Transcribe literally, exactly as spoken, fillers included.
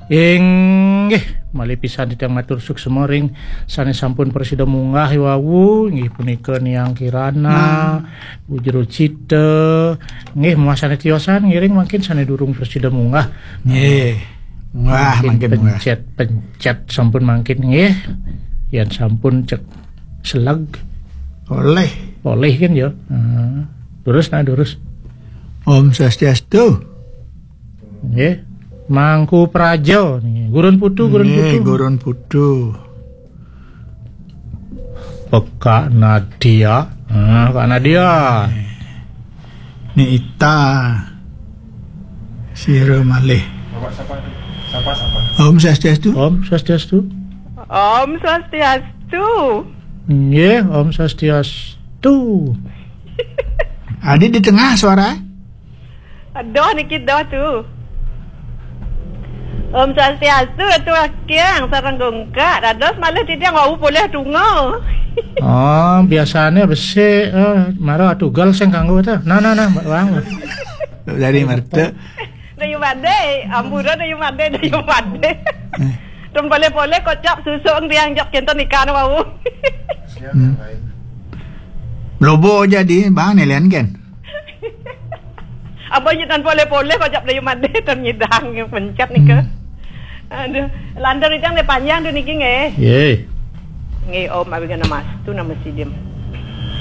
Inggih, malih pisan titiang matur suksma ring sané sampun prasida munggah wau, inggih punika Niang Kirana, Bu Jero Cita, inggih, muah sané tiosan ngiring mangkin sané durung prasida munggah. Nggih. Munggah, mangkin munggah. Pencet-pencet sampun mangkin nggih. Yén sampun cek seleg. Olih. Olih kan ya. Nah, durus nah durus. Om Swastiastu. Nggih. Mangku Praja niki. Gurun Putu, Gurun Nggih, Putu. Gurun Putu. Pekak Nadia. Nah, Kak Nadia. Ni Ita. Sira malih. Bapak siapa? Siapa, siapa? Om Swastiastu. Om Swastiastu. Om Swastiastu. Nggih, Om Swastiastu. Adi di tengah suara. Aduh, niki dah tu. Om Swastiastu, Ratu Akyang, sareng gungkak. Dados malih titiang wau polih tunggal. Oh, biasanya besi, eh, mara tugal sing kanggo ta. Nah, nah, nah, Bang. Dari Marta. Dayu Made, ampura Dayu Made, Dayu Made. Eh. Tun polih-polih kocap susung tiang jok kinten ikan wau. Hmm. Lobo jadi, Bang, nelian kan? Apa nyetan polih-polih kocap Dayu Made, tun nyidang yang pencet nika. Hmm. Aduh, lantur itu yang panjang tu niki nggih. Yé. Nggih, Om, abi kana Mastu nama sidim.